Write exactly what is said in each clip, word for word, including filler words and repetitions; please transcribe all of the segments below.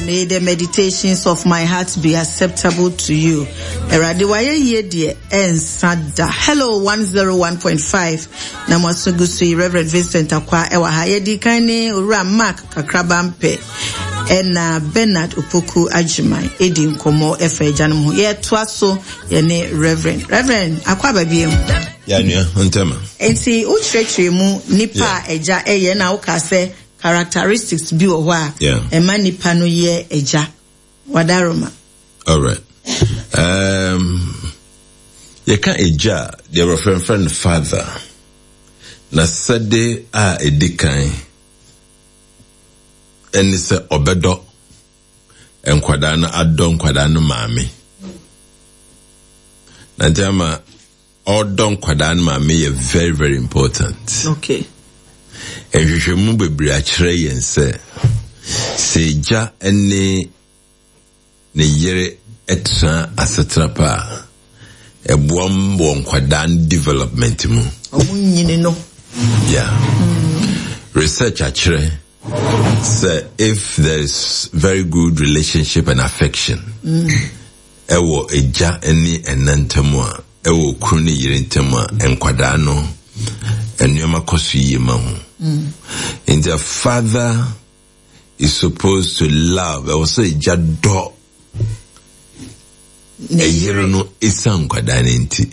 May the meditations of my heart be acceptable to you. Awurade wayɛ yie deɛ ɛnsa da. Hello one oh one point five na mo aso gu so yi, Reverend Vincent Akwa ɛwɔ ha. Yɛdi kan ne Owura Mark Kakraba Mpɛ ɛna Bernard Opoku Agyeman edi nkɔmmɔ ɛfa agyanom ho. Yɛtoa so yɛne Reverend. Reverend akɔ aba biem. Yɛnua ntɛma. Nti wokyerɛkyerɛ mu nipa a agya ɛyɛ na woka sɛ characteristics bi wɔ hɔ a Yeah. ɛma nipa no yɛ agya. Wadaroma. All right. Um, yɛka agya a, deɛ wɔfrɛmfrɛ no father na sɛde a ɛdi kan ɛne sɛ ɔbɛdɔ nkwadaa no, adɔ nkwadaa no maame. Na nti ama ɔdɔ nkwadaa no maame yɛ very, very important. Okay. Nhwehwɛmu bebree akyerɛ yɛn sɛ sɛ agya ne ne yere tena asetena pa a, ɛboa m wɔ nkwadaa no development mu. Ɔmo nyini no. Yeah. Research akyerɛ sɛ if there is very good relationship and affection ɛwɔ agya ne ɛna ntam a, ɛwɔ kunu ne yere ntam a, nkwadaa no nneɛma kɔ so yie ma ho. Nti a father is supposed to love, ɛwɔ sɛ agya dɔ ɛyere no ɛsiane nkwadaa no nti.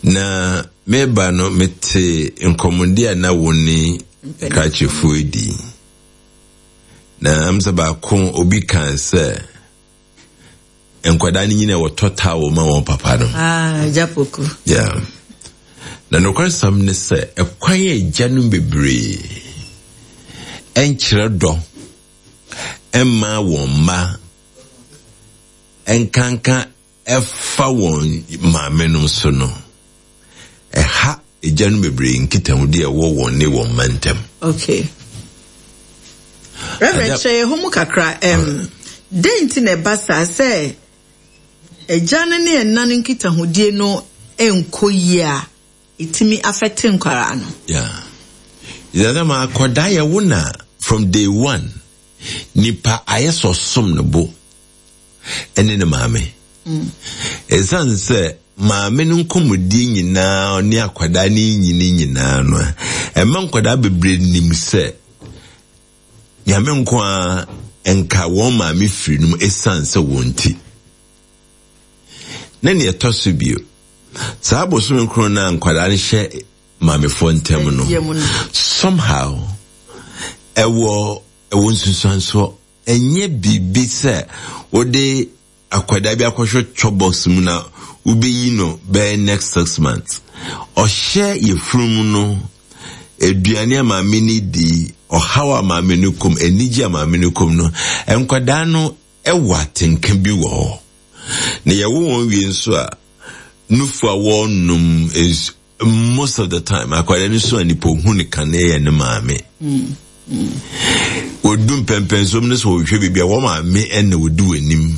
Na meba no, mete nkɔmmɔdi a na wo ne krakyefoɔ di na am sɛ baako obi kan sɛ nkwadaa no nyina wɔtɔ towel ma wɔn papa no. Ah, agya Poku. Yeah. Na nokwasɛm ne sɛ ɛkwan a agya no bebree ɛnkyerɛ dɔ ɛmma wɔn mma, ɛnkanka ɛfa wɔn maame no so no, ɛha agya no bebree nkitahodi a ɛwɔ wɔn ne wɔn mma ntam. Okay. Reverend, Agya- kyerɛ yɛn ho mu kakra. Um, dɛn nti na ɛba saa sɛ agya no ne ɛna no nkitahodie no nkɔ yie a, ɛtumi affect nkwaraa no? Yeah. Yàrá ma akwadaa yɛ wo na from day one nipa ayɛ sɛ ɔsom ne bo ɛne ne maame. Ɛsiane sɛ maame no nkɔmmɔdie nyinaa ne akwadaa ne nyini nyinaa no a, ɛma nkwadaa bebree nim sɛ Nyame nko a nka wɔn maame firi no mu ɛsiane sɛ wɔn ti. Na nea ɛtɔ so bio, saa bosome nkron no a nkwadaa no hyɛ maamefoɔ ntam no, Yɛ mu no. somehow ɛwɔ ɛwɔ nsusuansoɔ. Ɛnyɛ biribi sɛ wode akwadaa bi akɔhwɛ chop box mu na wobɛyi no bɛyɛ next six months. Ɔhyɛ yɛfunu mu no, aduane a maame no di, ɔhaw a maame no kom, anigye a maame no kom no, nkwadaa no ɛwɔ atenka bi wɔ hɔ. Na yɛwo wɔn wie nso a, nufu a wɔnom is most of the time akwadaa no so a, nipa ohu ne kane yɛ ne maame. Wɔdu mpɛmpɛnsom no sɛ wɔhwɛ biribi a, wɔn maame ɛna wɔdi wɔn anim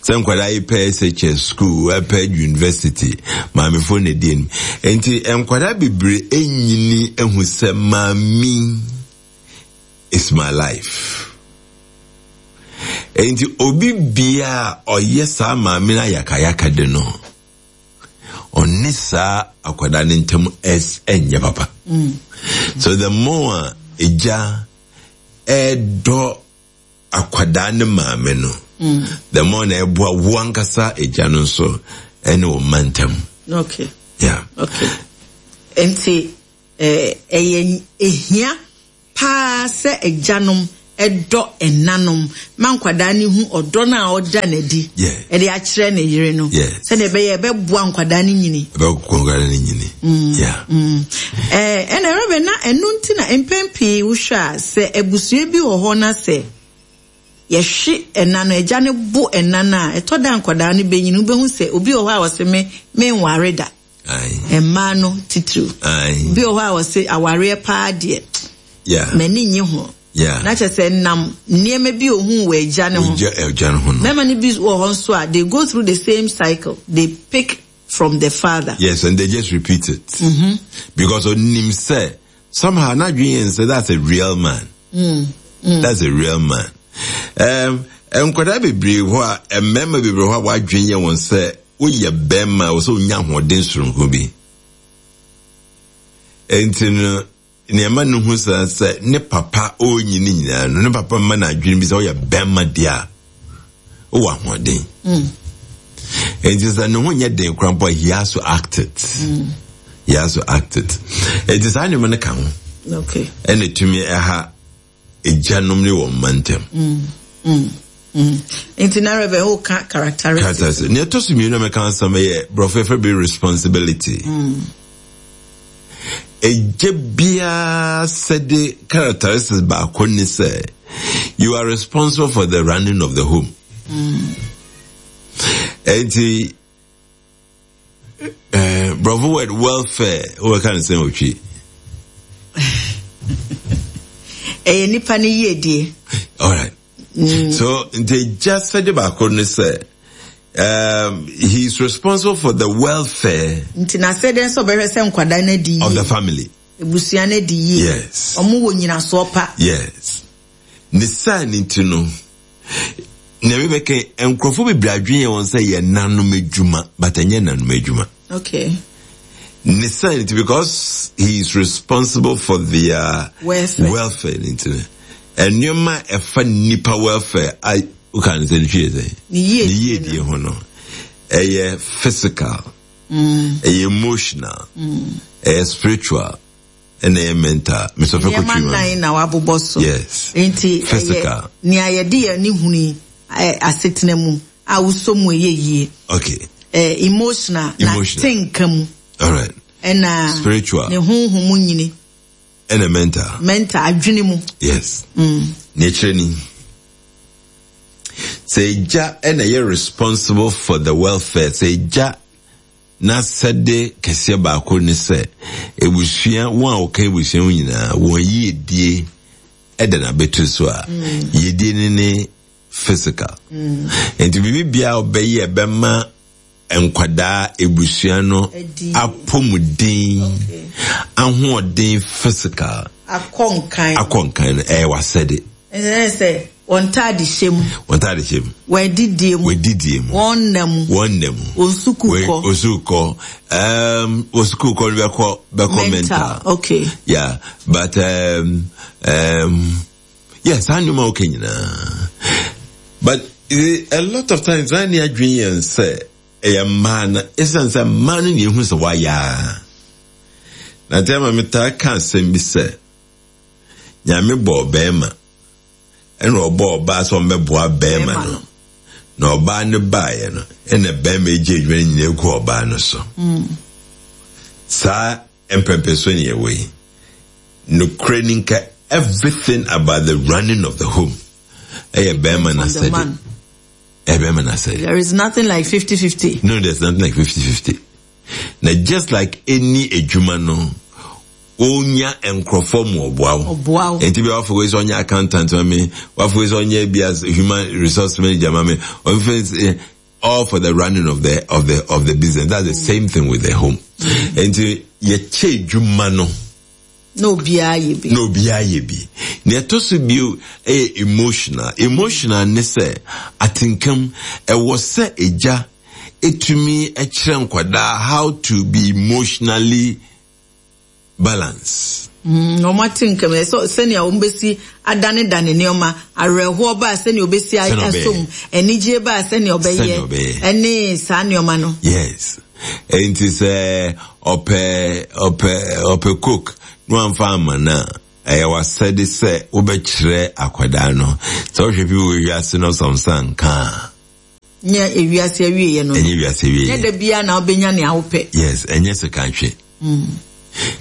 sɛ nkwadaa yi pɛ S H S school, ɛpɛ university, maamefoɔ na ɛdi anim. Nti nkwadaa bebree ɛnyini ehu sɛ maame is my life. Nti obi bia a ɔyɛ saa maame no ayakayaka de no, ɔne saa akwadaa no ntam ɛs ɛnyɛ papa. So the more a egya ɛdɔ akwadaa ne maame no, the more na ɛboa wo ankasa egya no nso ɛne wo mma ntam. Okay. Yeah. Okay. Nti eh, ɛyɛ ehia paa sɛ agyanom ɛdɔ ɛnanom ma nkwadaa no hu ɔdɔ no a ɔda n'adi Yes. ɛde akyerɛ ne yere no, Yes. sɛdeɛ ɛbɛyɛ ɛbɛboa nkwadaa no nyini. Ɛbɛkɔ nkwadaa no nyini, yeah. Eh, ɛna Reverend, na ɛno nti na mpɛn pii wohwɛ a, sɛ abusua bi wɔ hɔ na sɛ yɛhwe ɛna no, agya no bo ɛna no a, ɛtɔ da nkwadaa no bɛnyini, wobɛhu sɛ obi wɔ hɔ a wɔse me menware da. Aye. Mmaa no titiriw. Aye. Obi wɔ hɔ a wɔse awareɛ paa deɛ, yeah m'ani nye ho. Yeah na kyerɛ sɛ nam nneɛma bi ohun wɔ agya ne ho. Ogya agya no ho no. Mmarima no bi wɔ hɔ nso a, they go through the same cycle. They pick from the father. Yes, and they just repeat it mm-hmm. because onim sɛ somehow n'adwene yɛn sɛ that's a real man. mm. Mm. That's a real man. Um, nkwadaa bebree hɔ a, mmarima bebree hɔ a wɔadwene yɛ wɔn sɛ woyɛ bɛrima a wɔsɛ wonya ahoɔden soronko bi. Nti no, nneɛma no hu sɛ sɛ ne papa ɔrenyi ne nyinaa no, ne papa mma no adwene bi sɛ woyɛ bɛrima deɛ a, wowɔ ahoɔden. Mm. Nti sɛ ne ho nyɛ den koraa mpo a, he has to act it. Mm. He has to act it. Nti saa nneɛma no ka ho. Okay. Ɛna etumi ɛha agyanom ne wɔn mma ntam. Mm. Mm. Mm. Nti na Reverend wo ka characteristics. Characteristics. Nea ɛtɔ so mmienu a mɛka asɛm yɛ borɔfo yɛfrɛ bi responsibility. Mm. Agya biara sɛde characteristics baako ne sɛ you are responsible for the running of the home. Mm. Enti eh, borɔfo word welfare wobɛka ne sɛn otwi? Ɛyɛ nipa ne yiedie. All right. Mm. So nti agya sɛde baako ne sɛ um, he is responsible for the welfare. Nti na sɛ dɛn sɛ ɔbɛhwɛ sɛ nkwadaa no adi yie. Of the family. Ebusua no adi yie. Yes. Ɔmo wɔ nyinasoɔ pa. Yes. Ne saa ne ti no, nea mebɛka nkurɔfoɔ bebree adwene yɛ wɔn sɛ yɛ nanom adwuma, but ɛnyɛ nanom adwuma. Okay. Ne saa ne ti because he is responsible for their welfare. Welfare ne ti no. Nneɛma a ɛfa nipa welfare a woka ne sɛ ne hwie sɛ ne yiedie ho no, ɛyɛ physical, mm. ɛyɛ emotional, mm. ɛyɛ spiritual, ɛna ɛyɛ mental. Mesɔfɛ Nneɛma kɔtwi ma. nnan na wabobɔ so. Yes. Nti ɛyɛ Physical. nea yɛde yɛn ani hunu yi asetena mu a wosɔ mu ɛyɛ yie. Okay. Eh, emotional na Emotional. tenka mu. All right. Ɛna spiritual. Ne honhom mu nyini. Ɛna mental. Mental adwene mu. Yes. Mm. Nea ɛkyerɛ ni. Sɛ agya ɛna ɛyɛ responsible for the welfare, sɛ agya n'asɛde kɛseɛ baako ne sɛ ebusua wɔn a wɔka ebusua ho nyinaa wɔn yiedie ɛda n'abɛtu so a, Mm. yiedie ne ne physical. Mm. Nti biribi biara ɔbɛyɛ ɛbɛma nkwadaa ebusua no Adi. apɔmuden, Okay. ahoɔden physical. Akɔ nkan. Akɔ nkan no ɛyɛ w'asɛde. Ɛsɛ sɛ wɔn ntaade hyɛ mu. Wɔn ntaade hyɛ mu. Wɔn adidie mu. Wɔn adidie mu. Wɔn nna mu. Wɔn nna mu. Wɔn sukuu kɔ. Wɔn sukuu kɔ. Um, wɔn sukuu kɔ no bɛkɔ bɛkɔ mental. Okay. Yeah, but um, um, yeah, saa nneɛma okay nyinaa. But a lot of times saa ne adwene yɛn sɛ ɛyɛ mmaa no, ɛsiane sɛ mmaa no na ehu sɛ wɔayɛ a. Na nti ama metaa ka asɛm bi sɛ Nyame bɔɔ bɛrima ɛna ɔbɔɔ ɔbaa sɛ ɔmmɛboa bɛrima no. Na ɔbaa no baeɛ no, ɛna bɛrima egye adwuma no nyinaa egu ɔbaa no so. Mm. Saa mpɛmpɛso ne ɛwɔ yi. Nokorɛ ni nka everything about the running of the home ɛyɛ bɛrima On the n'asɛde. man. Ɛyɛ bɛrima n'asɛde. There is nothing like fifty-fifty. No, there's nothing like fifty-fifty. Na just like any adwuma no, onya nkurɔfoɔ mu ɔboa wo. Ɔboa wo. Nti bi wafo wei sɛ ɔnyɛ accountant ma me, wafo wei sɛ ɔnyɛ bi as human resource manager ma me, ɔmfɛ all for the running of the of the of the business. That's the same thing with the home. Nti yɛkyɛ adwuma no. Na obiara yɛ bi. Na obiara yɛ bi. Nea ɛtɔ so bio ɛyɛ emotional. Emotional ne sɛ atenkam ɛwɔ sɛ agya etumi ɛkyerɛ nkwadaa how to be emotionally balanced. Mm, wɔn atenkam ɛsɛ sɛnea wɔn bɛsi adanedane nneɛma, awerɛhoɔ baa sɛnea wɔbɛsi Sɛnea ɔbɛyɛ. asom, anigye baa sɛnea ɔbɛyɛ, Sɛnea ɔbɛyɛ. ɛne saa nneɛma no. Yes. Enti sɛ ɔpɛ ɔpɛ ɔpɛ coke na wamfa ama no a, ɛyɛ w'asɛde sɛ wobɛkyerɛ akwadaa no. Sɛ wohwɛ bi wɔ wiase no ɔsɔmsa nka a. Nyɛ ewiase awieɛ no. Ɛnyɛ ewiase awieɛ. Nyɛ da biara na wobɛnya nea wopɛ. Yes, ɛnyɛ sika nhwɛ. Mm.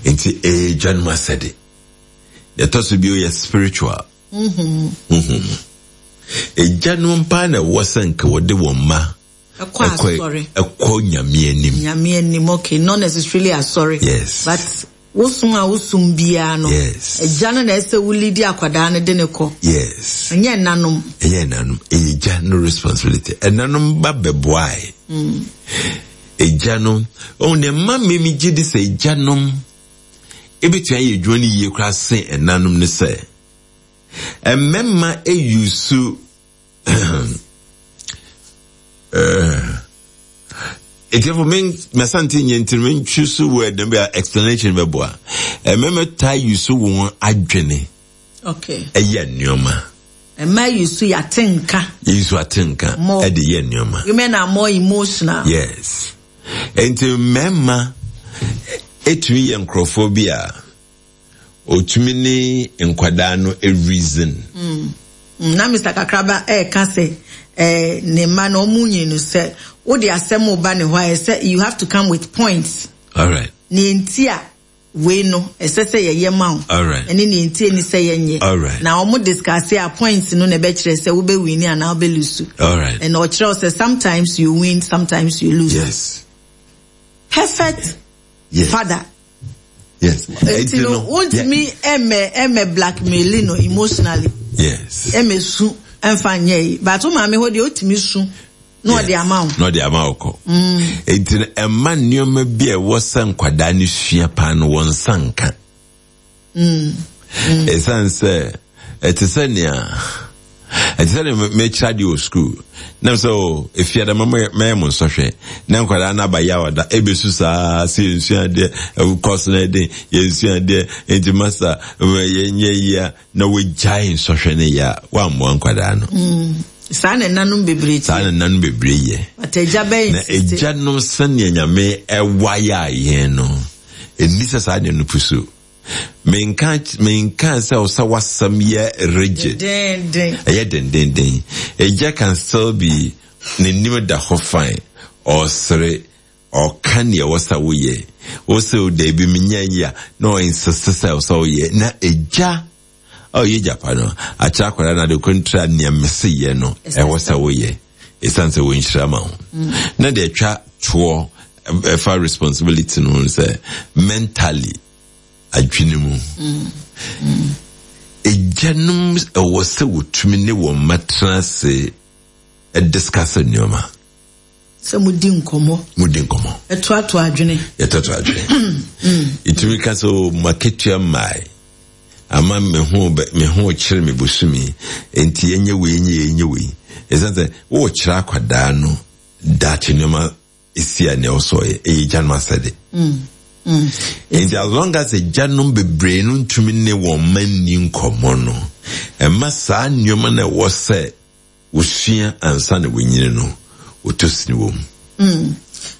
Nti ɛyɛ agya no asɛde. Deɛ ɛtɔ so bio yɛ spiritual. Mm-hmm. Mm-hmm. Agya no mpa na ɛwɔ sɛ nka wɔde wɔn mma ɛkɔ asɔre. Ɛkɔ Nyame anim. Nyame anim, okay. Not necessarily asɔre. Yes. But wosom a wosom biara no. Yes. Agya no na ɛsɛ wo lead akwadaa no de ne kɔ. Yes. Ɛnyɛ ɛnanom. Ɛnyɛ ɛnanom. Ɛyɛ agya no responsibility. Ɛnanom ba bɛboae. Mm. Agya no, ɔhu ne mma mmemme gye di sɛ agya nom ebetumi ayɛ adwuma no yie koraa sen ɛnanom ne sɛ Mmarima eyusu etiefo men masante nyɛ nti mentwi so word no bi explanation bɛboa. Mmarima taa yusu wɔn adwene. Okay. Ɛyɛ nneɛma. Mmaa yusu yɛatenka. Yusu atenka ɛde yɛ nneɛma. Women are more emotional. Yes. Nti mmarima etumi yɛ nkurɔfoɔ bi a otumi ne nkwadaa no reason. Mm. Na Mister Kakraba ɛɛka sɛ ɛɛ ne mma no ɔmo nyini no sɛ wode asɛm ba ne hɔ a, ɛsɛ you have to come with points. All right. Ne nti a wei no ɛsɛ sɛ yɛyɛ ma wo. All right. Ɛne ne nti ani sɛ yɛnyɛ. All right. Na ɔmo discuss a, points no na ɛbɛkyerɛ sɛ wobɛ win anaa wobɛ lose. All right. And ɔkyerɛ sɛ sometimes you win, sometimes you lose. Yes. Perfect yes. father. Yes. Nti no wontumi ɛmɛ ɛmɛ blackmail no emotionally. Yes. Ɛmɛ su ɛmfa nyɛ yi, but wo maame hɔ deɛ, otumi su na ɔde ama wo. Na ɔde ama wo kɔ. Nti no ɛma nneɛma bi a ɛwɔ sɛ nkwadaa no sua paa no, wɔn nsa nka. Ɛsiane sɛ ɛte sɛ nea ɛte sɛ nea mekyerɛ adeɛ wɔ school nam sɛ o efiada mɛyɛ mo nsɔhwɛ na nkwadaa no aba yaw da ebesu saa sɛ yɛnsua adeɛ, kɔs no ɛden, yɛnsua adeɛ, nti masa yɛnyɛ yia na wɔgyae nsɔhwɛ no yɛ a, wɔammoa nkwadaa no. Saa na ɛnanom bebree. Saa na ɛnanom bebree yɛ. But agya bɛyɛ na agyanom, sɛnea Nyame ɛwayɛ a yɛn no ɛni sɛ saa deɛ no pusu. menka menka sɛ ɔsɛ wasɛm yɛ rigid, ɛyɛ dendenden. Agya can still be n'anim da hɔ fine, ɔsere, ɔka nea ɛwɔ sɛ woyɛ, wosɛ daabi, menyɛ yi a, na ɔinsist sɛ ɔsɛ woyɛ. Na agya a ɔyɛ gyapa no akyerɛ akwadaa no ade kontra nea mese yɛ no, ɛwɔ sɛ woyɛ ɛsiane sɛ wɔnhyira ma wo. Na deɛ atwa toɔ ɛfa responsibility no sɛ mentally, adwene mu, agyanom ɛwɔ sɛ wɔtumi ne wɔn mma tena ase ɛdiscuss nneɛma. Sɛ mudi nkɔmmɔ. Mudi nkɔmmɔ. Ɛtoato adwene. Yɛtoato adwene. Ɛtumi ka sɛ o maketua mmae ama me ho me ho kyerɛ me bosome, nti yɛnyɛ wei, nyɛ yɛnyɛ wei, ɛsiane sɛ wɔrekyerɛ akwadaa no daakye nneɛma esi a nea ɔsɔ yɛ ɛyɛ gyanom asɛde. Nti as long as agyanom bebree no ntumi ne wɔn mma nni nkɔmmɔ no, ɛma saa nneɛma no ɛwɔ sɛ wosua ansa na wɔnyini no, wɔtɔ sini wɔ mu.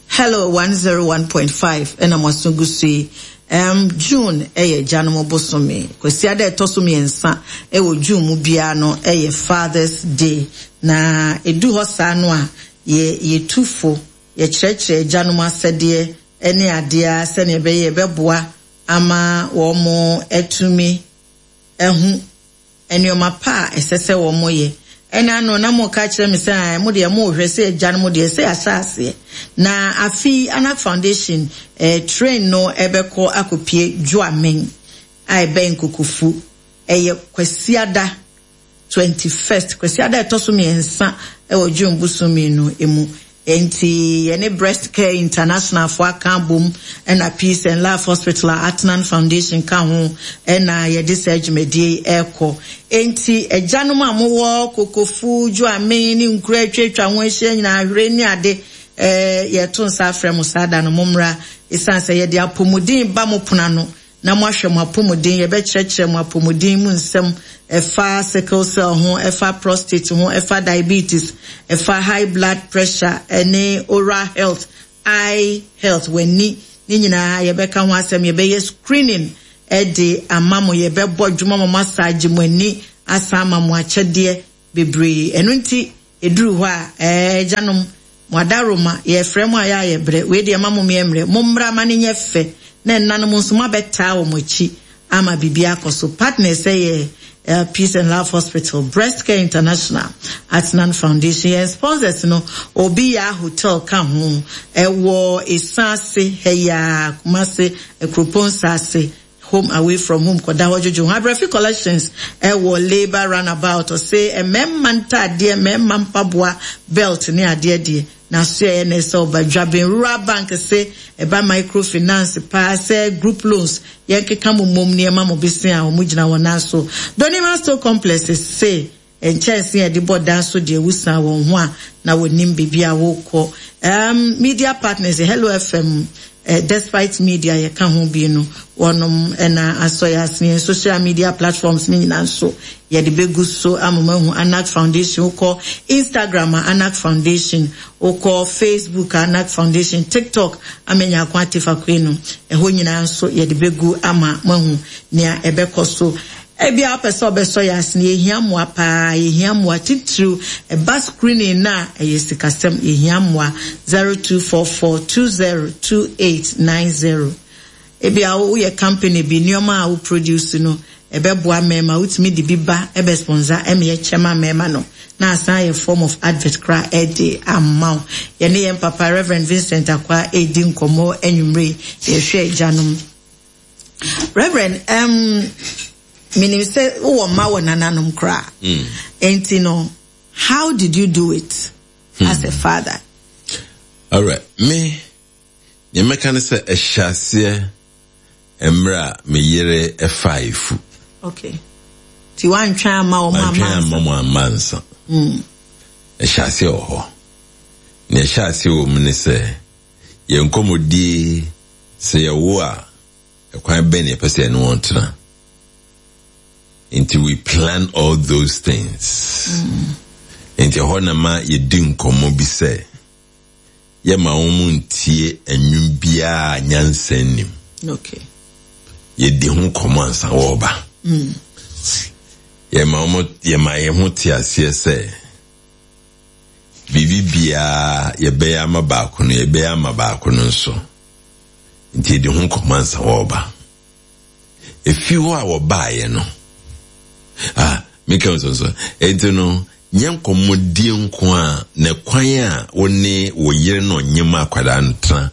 Hello one oh one point five, ɛna mo aso gu so yi. um, June ɛyɛ agyanom bosome. Kwasiada ɛtɔ so mmiɛnsa ɛwɔ June mu biara no ɛyɛ Fathers Day, na edu hɔ saa no a, yɛ yɛtu fo, yɛkyerɛkyerɛ agyanom asɛdeɛ ɛne adeɛ sɛnea ɛbɛyɛ ɛbɛboa ama wɔn atumi ɛho nneɛma pa a ɛsɛ sɛ wɔn yɛ. Ɛna ano na mo ka kyerɛ me sɛ mo deɛ, mo hwɛ sɛ agya no mo deɛ sɛ yɛahyɛ aseɛ na afi Anak Foundation eh, train no ɛbɛkɔ akɔpie Dwoamen a ɛbɛn Kokofu. Ɛyɛ Kwasiada twenty first, Kwasiada ɛtɔ so mmiɛnsa ɛwɔ June bosome no emu. Nti yɛne Breast Care International fo aka abom, ɛna Peace and Love Hospital a Atnan Foundation ka ho, ɛna yɛde saa dwumadie ɛrekɔ. Nti agyanom a mowɔ Kokofu, Dwoamen ne nkura atwatwa ho ahyia nyinaa, ahwere ne ade, ɛɛ yɛto nsa afrɛ mo saa da no, mommra, ɛsiane sɛ yɛde apɔmuden ba mo pono ano na moahwɛ mo apɔmuden. Yɛbɛkyerɛkyerɛ mo apɔmuden mu nsɛm, ɛfa sickle cell ho, ɛfa prostate ho, ɛfa diabetes, ɛfa high blood pressure, ɛne oral health, eye health, w'ani ne nyinaa yɛbɛka ho asɛm. Yɛbɛyɛ screening ɛde ama mo, yɛbɛbɔ dwuma mo, massage mo ani, asan ama mo akyɛdeɛ bebree. Ɛno nti ɛduru hɔ a, ɛɛ agyanom, mo adaroma, yɛfrɛ mo a yɛ a yɛbrɛ wei deɛ ma mo mmeɛmmerɛ, mommra ma ne nyɛ fɛ, na ɛnanom nso moabɛtaa wɔn akyi ama biribi akɔ so. Partners yɛ uh, Peace and Love Hospital, Breast Care International, Atnan Foundation. Yɛn sponsors no, Obi Ya Hotel ka ho, ɛwɔ Esaase Heya, Kumase, Ekuropɔn Saase, home away from home, kɔda hɔ dwodwo ho. Abrɛfi Collections ɛwɔ Labour Runabout, ɔsɛ mmarima ntaadeɛ, mmarima mpaboa, belt ne adeɛ deɛ. Na so yɛ na ɛsɛ ɔba Dwaben Rural Bank se ɛba microfinance paa sɛ group loans yɛnkeka mo mmom nneɛma mo bese a wɔn gyina wɔn nan so. Donima Steel Complex se nkyɛnse a yɛde bɔ dan so deɛ wusan wɔn ho a na wɔnim biribi a wɔrekɔ. Um, media partners, Hello F M, uh, Despite Media yɛka ho bi no, wɔnom ɛna asɔ yɛ asene. Yɛn social media platforms ne nyinaa nso yɛde bɛgu so ama mo ahu. Anak Foundation, wokɔ Instagram a, Anak Foundation, wokɔ Facebook a, Anak Foundation, TikTok, Amenya Ako Atefa no, ɛhɔ nyinaa nso yɛde bɛgu ama mo ahu nea ɛbɛkɔ so. Ebi a wopɛ sɛ ɔbɛsɔ yɛ asene, yɛhia mmoa paa, yɛhia mmoa titiriw ɛba screening na ɛyɛ sikasɛm, yɛhia mmoa. zero two four four two zero two eight nine zero. Ebi a woyɛ company bi, nneɛma a wo produce no ɛbɛboa mmarima, wotumi de bi ba ɛbɛ sponsor ɛma yɛkyɛ ma mmarima no na asan yɛ form of advert kora ɛde ama wo. Yɛne yɛn papa Reverend Vincent Akwa ɛredi nkɔmmɔ anwummere, yɛhwɛ agyanom. Reverend, um, menim sɛ wowɔ mma wɔ nananom koraa mm. Enti no, how did you do it hmm. as a father? Alright, me nea mɛka ne sɛ ɛhyɛ aseɛ mmerɛ a me yere ɛfa efu. Okay, nti woantwɛn ama wɔn ama? Antwɛn ama wɔn ama nsa. mm. Ɛhyɛ aseɛ wɔ hɔ. Nea ɛhyɛ aseɛ wɔ mu ne sɛ yɛn nkɔmmɔdie sɛ yɛwo a, ɛkwan bɛn na yɛpɛ sɛ yɛne wɔn tena. Nti we plan all those things mm. Nti ɛhɔ na ma yɛdi nkɔmmɔ bi sɛ yɛma wɔn mu ntie nnwom biara nyansa nim. Okay. Yɛdi ho nkɔmmɔ ansa wɔreba mm. Yɛma wɔn, yɛma yɛn ho te aseɛ sɛ biribi biara yɛbɛyɛ ama baako no, yɛbɛyɛ ama baako no nso. Nti yɛdi ho nkɔmmɔ ansa wɔreba. Efi hɔ a wɔbaeɛ no, ah, meka nso nso nti no, nyɛ nkɔmmɔdie nko a na kwan a wo ne wo yere no ɔnyem akwadaa no tena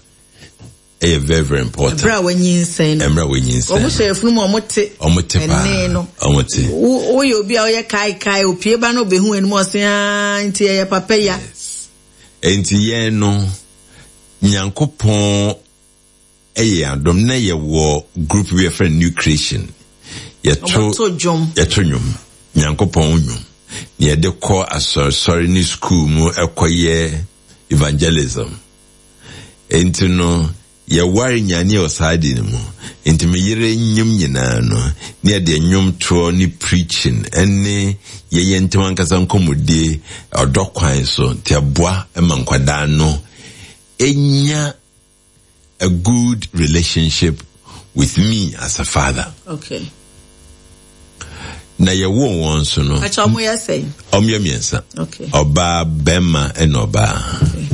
ɛyɛ very very important. Ɛbrɛ a wanyinsɛn no. Ɛmmerɛ a wanyinsɛn. Wɔn hyɛ efunu mu, wɔn te. Wɔn te paa. Ɛnne no. Wɔn te. Woyɛ obi a ɔyɛ kaekae, opie ba no obehu anim, ɔse aa, nti ɛyɛ papa ya. Yes. Nti yɛn no, Nyankopɔn ɛyɛ adom na yɛwɔ group bi yɛfrɛ New Creation. Yɛto dwom. Yɛto nnwom, Nyankopɔn nnwom, na yɛde kɔ asɔresɔre ne school mu ɛkɔyɛ evangelism. Nti no yɛware nyane wɔ saa de no mu. Nti me yere nnwom nyinaa no ne yɛde nnwomtoɔ ne preaching ɛne yɛyɛ ntɛm ankasa nkɔmmɔdie ɔdɔ kwan so. Nti ɛboa ma nkwadaa no ɛnya a good relationship with me as a father. Okay. Na yɛwoo wɔn so no. Akyɛ ɔmo yɛ sɛn? Ɔmo yɛ mmiɛnsa. Okay. Ɔbaa, bɛrima ɛna ɔbaa. Okay.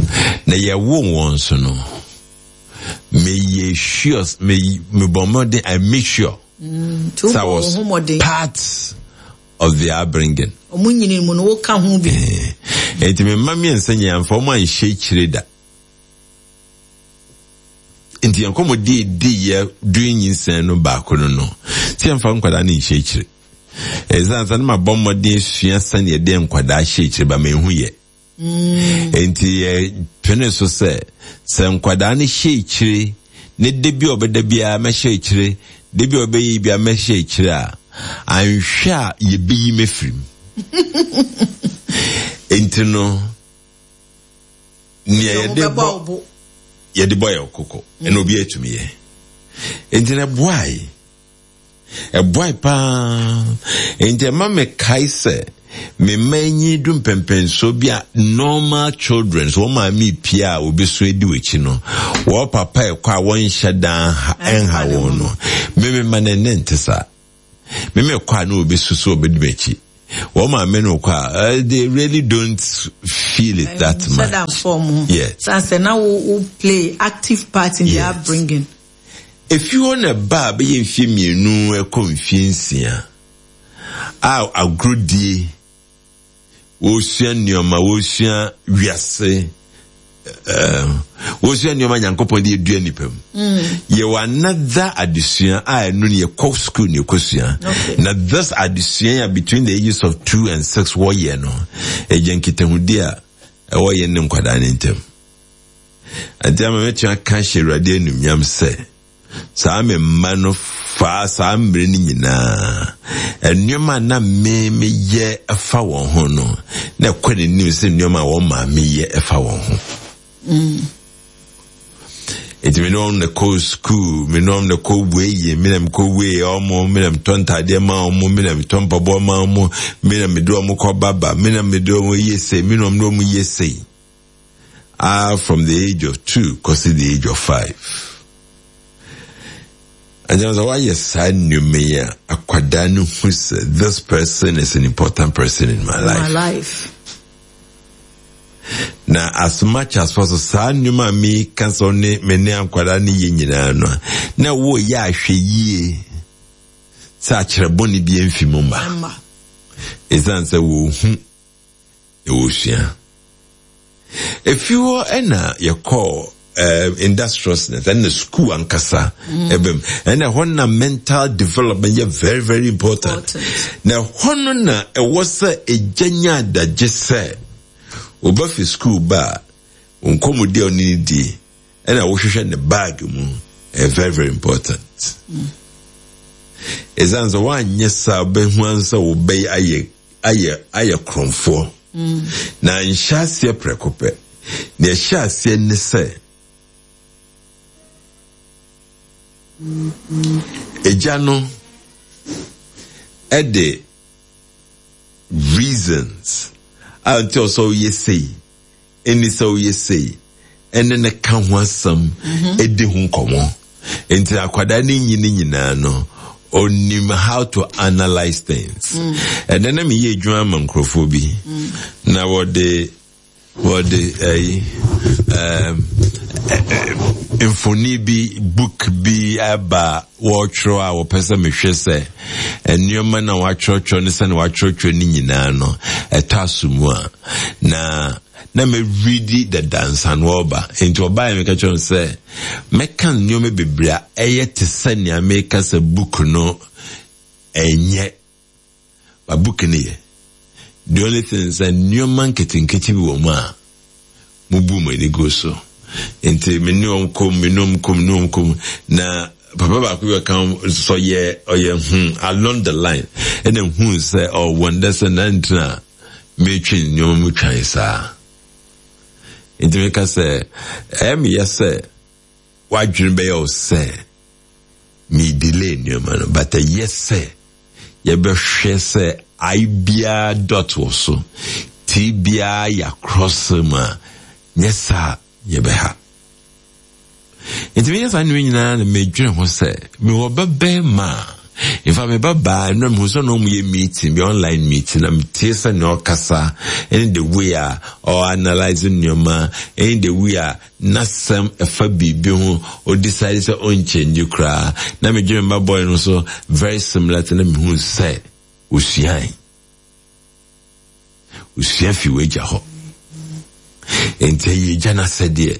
Na yɛwoo wɔn so no, meyɛ sure, me mebɔ mmɔden, I make sure Mm, sɛ I was part of the upbringing. Ɔmo nyini mu no, woka ho bi. Enti me mma mmiɛnsa nyinaa mfa ɔmo anhyɛ akyire da. Nti yɛn nkɔmmɔdi edi yɛ during nyinsɛn no baako no no sɛ yɛmfa nkwadaa no nhyɛ akyire. Ɛsan sɛ no ma bɔ mmɔden esua sɛnea yɛde nkwadaa hyɛ akyire ba, ma ehu yɛ. Nti yɛ pene so sɛ sɛ nkwadaa no hyɛ akyire ne de bi a ɔbɛda biara mɛhyɛ akyire, de bi a ɔbɛyɛ bi a mɛhyɛ akyire a, anhwɛ a yɛbɛyi mɛfiri mu. Nti no nea yɛde bɔ yɛde bɔ yɛ koko ɛna obi atumi yɛ. Nti na ɛboae, ɛboae paa. Nti ɛma mekae sɛ me mma anyi du mpɛmpɛnsoɔ bi a normal children so wɔn maame pie a obeso edi w'akyi no, wɔn papa ɛkɔ a wɔnhyɛ dan ɛnha wɔn no, mímí ma ne ne nte saa. Mímí kɔ a na obesu so obedi m'akyi, wɔn maame no kɔ a, they really don't feel it that much. Yes. Sanse na wo wo play active part in yes. their upbringing. Efi hɔ na ba a bɛyɛ mfie mmienu ɛkɔ mfie nsia a, agorodie, wɔresua nneɛma, wɔresua wiase, wɔresua nneɛma Nyankopɔn de edua nipa mu. Yɛwɔ another adesua a ɛno no yɛkɔ school na yɛkɔsua. Na this adesua a between the ages of two and six wɔyɛ no, ɛgya nkitahudi a ɛwɔ yɛn ne nkwadaa ne ntam. Ante ama mɛtumi aka ahyɛ Awurade animuonyam sɛ saa me mma no faa saa mmerɛ no nyinaa, nneɛma a na me meyɛ ɛfa wɔn ho no, na ɛkɔ n'anim sɛ nneɛma a wɔn maame yɛ ɛfa wɔn ho. Mm. Nti me ne wɔn na kɔ sukuu, me ne wɔn na kɔ wei, me na mekɔ wei wɔn, me na metɔ ntaadeɛ ma wɔn, me na metɔ mpaboa ma wɔn, me na mede wɔn kɔ baba, me na mede wɔn yɛ sei, me na wɔn de wɔn yɛ sei. Ah, from the age of two kɔsi the age of five. Agyana sɛ woayɛ saa nneɛma yi a, akwadaa no hu sɛ this person is an important person in my life. My life. Na as much as possible, saa nneɛma a meka sɛ ɔne me ne akwadaa no yɛ nyinaa no, na woyɛ ahwɛ yie sɛ akyerɛ bɔne bi amfi mu mma. Ɛsiane sɛ wɔhu na wɔsua. Efi hɔ ɛna yɛkɔɔ uh, industriousness ɛna school ankasa ɛbɛm ɛna ɛhɔ na mental development yɛ very very important. Important. Na ɛhɔ no na ɛwɔ sɛ egya nya adagye sɛ ɔba fi school ba a nkɔmmɔdi a ɔne ne di ɛna wohwehwɛ ne bag mu ɛyɛ very very important. Ɛsiane sɛ woanyɛ saa, wobɛhu ansa wobɛyɛ ayɛ ayɛ ayɛ korɔmfoɔ. Na nhyɛ aseɛ prɛko pɛ. Nea ɛhyɛ aseɛ ne sɛ egya no ɛde reasons a nti ɔsɛ ɔyɛ sei, ɛni sɛ ɔyɛ sei, ɛne ne ka ho asɛm, ɛdi ho nkɔmmɔ. Nti akwadaa ne nyini nyinaa no, onim how to analyse things. Ɛnɛ na meyɛ adwuma ama nkurɔfoɔ bi na wɔde wɔde ɛyi ɛɛm mfoni bi, book bi aba, wɔretwerɛ a wɔpɛ sɛ mehwɛ sɛ nneɛma na wɔatwerɛtwerɛ ne sɛ na wɔatwerɛtwerɛ ne nyinaa no ɛtɔ aso mu a, na na mɛredi dadansa no ɔba. Nti ɔbaa yɛ, meka kyerɛ no sɛ mɛka nneɛma bebree a ɛyɛ te sɛ nea meka sɛ book no ɛnyɛ ba, book no yɛ. The only thing sɛ nneɛma nketenkete bi wɔ mu a mubu mu ani gu so. Nti me ne wɔn kɔm, me ne wɔn kɔm, me ne wɔn kɔm, na papa baako bi ɔka so ɔyɛ ɔyɛ hmm along the line ɛna hu sɛ ɔwɔ ndɛ sɛ nantena metwe nneɛma mu twan saa. Nti meka sɛ ɛyɛ meyɛ sɛ wadwene bɛyɛ wo sɛ me delay nneɛma no, but ɛyɛ sɛ yɛbɛhwɛ sɛ I biara dot wɔ so, T biara yɛ across mu a, nyɛ saa yɛbɛha. Nti meyɛ saa nneɛma nyinaa na medwene ho sɛ mewɔ bɛbɛɛma a, in fact, me ba baa nnura mehu sɛ na ɔmo yɛ meeting bi, online meeting, na metie sɛ nea ɔkasa ɛne the way a ɔanalyse nneɛma ɛne the way a n'asɛm ɛfa biribi ho, ɔdecide sɛ ɔnkyɛngye koraa. Na medwene me ba boy no so very similar to, na mehu sɛ osuae osua fi w'agya hɔ. Nti ɛyɛ agya n'asɛdeɛ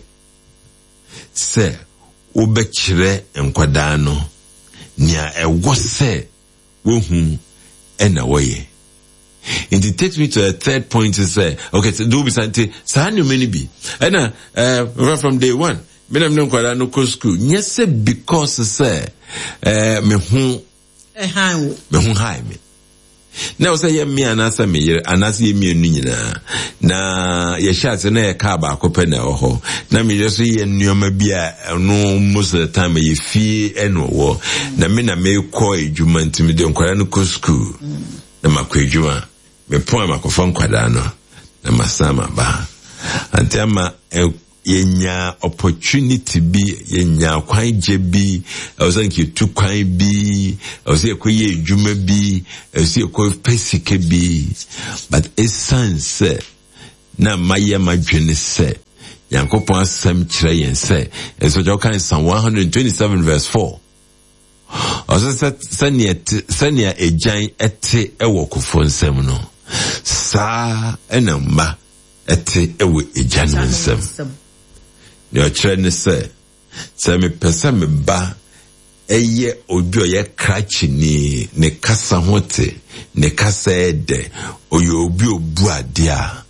sɛ wobɛkyerɛ nkwadaa no nea ɛwɔ sɛ wohu ɛna wɔyɛ. Nti takes me to a third point sɛ, okay, so do bisa nti saa nneɛma no bi ɛna ɛɛ from day one me na me ne nkwadaa no kɔ school, nyɛ sɛ because sɛ ɛɛ me ho ɛhan wo, me ho hae me na ɛwɔ sɛ yɛ me anaasɛ me yere anaasɛ yɛ mmienu nyinaa na yɛhyɛ ase na yɛ kaa baako pɛ na ɛwɔ hɔ, na me yere so yɛ nneɛma bi a ɛno most of the time ɛyɛ fie ɛna ɔwɔ, na me na mekɔ adwuma. Nti mede nkwadaa no kɔ school na makɔ adwuma, mepɔn a makɔfa nkwadaa no na masan maba. Ante ama yɛnya opportunity bi, yɛnya kwangye bi, ɛwɔ sɛ nka yɛtu kwan bi, ɛwɔ sɛ yɛkɔyɛ adwuma bi, ɛwɔ sɛ yɛkɔ sika bi, but ɛsiane sɛ na mayɛ m'adwene sɛ Nyankopɔn asɛm kyerɛ yɛn sɛ ɛsɛ sɛ ɔka Psalm one hundred twenty-seven verse four, ɔsɛ sɛ sɛnea sɛnea agyan ɛte ɛwɔ kofo nsam no, saa ɛna mma ɛte ɛwɔ agya no nsam. Nea ɔkyerɛ ne sɛ sɛ mepɛ sɛ me ba ɛyɛ obi a ɔyɛ krakyeni, ne kasa ho te, ne kasa ɛdɛ, ɔyɛ obi a obu adeɛ a,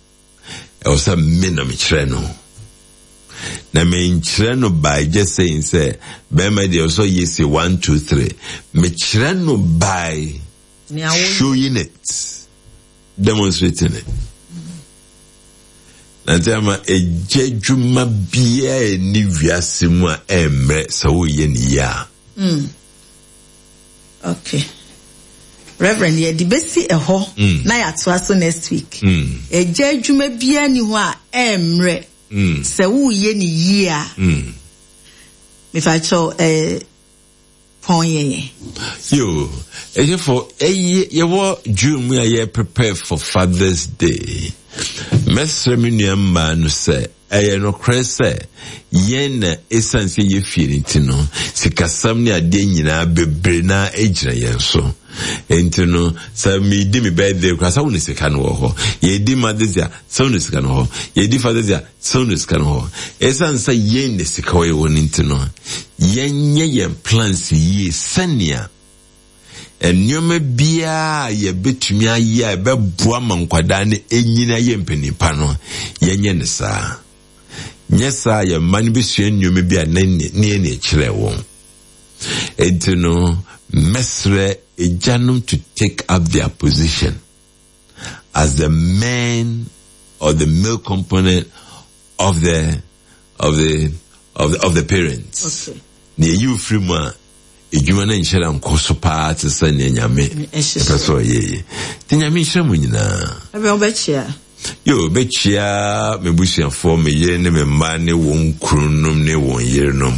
ɛwɔ sɛ me na mekyerɛ no. Na menkyerɛ no by just saying sɛ bɛrima deɛ ɔsɔ yɛ sɛ one two three. Mekyerɛ no by showing it, demonstrating it. Na nti ama egya dwuma biara ni wiase mu a ɛmmerɛ sɛ woyɛ ne yie a. Mm. Okay. Reverend, yɛde bɛsi ɛhɔ mm. na yɛatoa so next week. Mm. Egya adwuma biara ni hɔ a ɛmmerɛ mm. sɛ woyɛ ne yie a. Mm. Mefakyɛw ɛɛ pɔn yɛn. Yo, ɛyɛfo ɛyɛ yɛwɔ June mu a yɛ prepare for Father's Day. Mɛsrɛ me nua mmaa no sɛ ɛyɛ nokorɛ sɛ yɛn na ɛsiane sɛ yɛ fie no nti no sikasɛm ne adeɛ nyinaa bebree na ɛgyina yɛn so. Nti no sɛ medi me birthday koraa sɛ wo ne sika no wɔ hɔ. Yɛdi Mother's Day a sɛ wo ne sika no wɔ hɔ. Yɛdi Father's Day a sɛ wo ne sika no wɔ hɔ. Ɛsiane sɛ yɛn na sika wɔ yɛwɔ no nti no yɛnyɛ yɛn plans yie sɛnea nneɛma biara a yɛbɛtumi ayɛ a ɛbɛboa ma nkwadaa no ɛnyini ayɛ mpanimpa no yɛnyɛ ne saa. Nyɛ saa yɛn mma no bɛsua nneɛma bi a ne ne ne kyerɛ wɔn. Enti no mɛsrɛ agyanom to take up their position as the man or the male component of the of the of the, of the parents. Okay. Na eyi ofiri mu a edwuma no nhyɛ da nkɔ so paa te sɛ nea Nyame ɛpɛ sɛ ɔyɛ yi. Nti Nyame nhyira mu nyinaa. Ɛbɛn wobɛkyia. Yo, bɛkyia me busuafoɔ, me yere ne me mma ne wɔn kununom ne wɔn yerenom.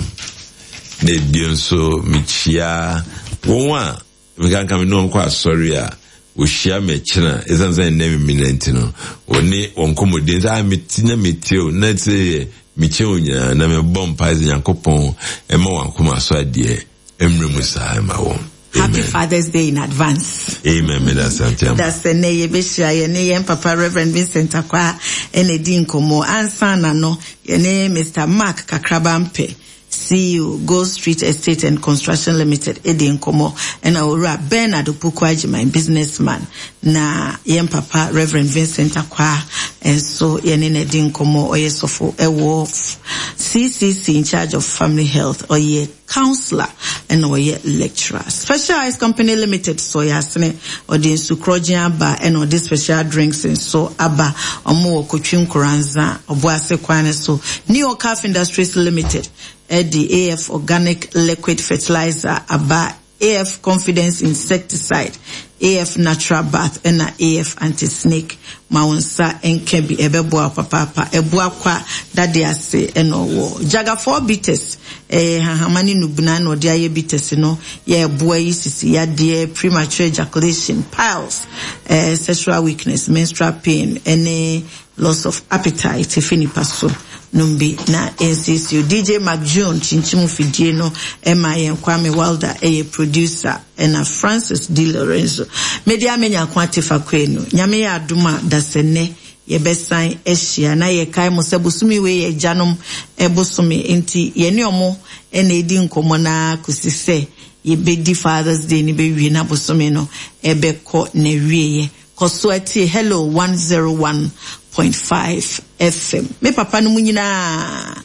Na ebio nso mekyia wɔn a mekanka me ne wɔn kɔ asɔre a wɔhyia me akyina ɛsiane sɛ nnɛ memena nti no wɔne wɔn nkɔmmɔdi sɛ ah meti na metie o na sɛ yɛ mekyia wɔn nyinaa na mebɔ mpae sɛ Nyankopɔn ɛma wɔn akoma so adeɛ mmerɛ mu saa ɛma wɔn. Happy Father's Day in advance. Amen. Meda sante. Da sɛ nɛ yɛbɛhyia yɛne yɛn papa Reverend Vincent Akwa ɛna di nkɔmmɔ. Ansa na no yɛne Mister Mark Kakraba Mpɛ, C E O Gold Street Estate and Construction Limited ɛdi nkɔmmɔ, ɛna owura Bernard Opoku Agyeman, businessman, na yɛn papa Reverend Vincent Akwa nso yɛne na di nkɔmmɔ. Ɔyɛ sɔfo ɛwɔ C C C in charge of family health, ɔyɛ counselor ɛna ɔyɛ lecturer. Special Ice Company Limited so yɛ asene ɔde nsu korɔgye aba ɛna ɔde special drinks nso aba. Ɔmo wɔ Kotwi Nkoranza Ɔboase kwan so. Neo Calf Industries Limited ɛde A F Organic Liquid Fertilizer aba, A F Confidence Insecticide, A F Natural Bath ɛna A F Anti-Snake. Ma wo nsa nka bi ɛbɛboa papaapa. Ɛboa kwa dade ase ɛna ɔwɔ Jagafour bitters, eh, hahama ne nubena na ɔde ayɛ bitters no yɛ ɛboa yi sisi yadeɛ, premature ejaculation, piles, eh, sexual weakness, menstrual pain ɛne loss of appetite efi nipa so numbi na nsiesie. D J Mac June chinchimu fidie no ɛma yɛn Kwame Wilder ɛyɛ producer ɛna Francis D Lorenzo. Media menya kwa tefa kwenu. Nyame yɛ adom a dasene yɛbɛsan ahyia na yɛkae mo sɛ bosome wei yɛ agyanom ɛbosome nti yɛne ɔmo ɛna edi nkɔmmɔ na kosi sɛ yɛbɛdi Father's Day ne bɛwie na bosome no ɛbɛkɔ na wieɛ. Kɔ so atie Hello one zero one point five F M. Me papa no mu nyinaa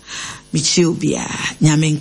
mekyia obiara. Nyame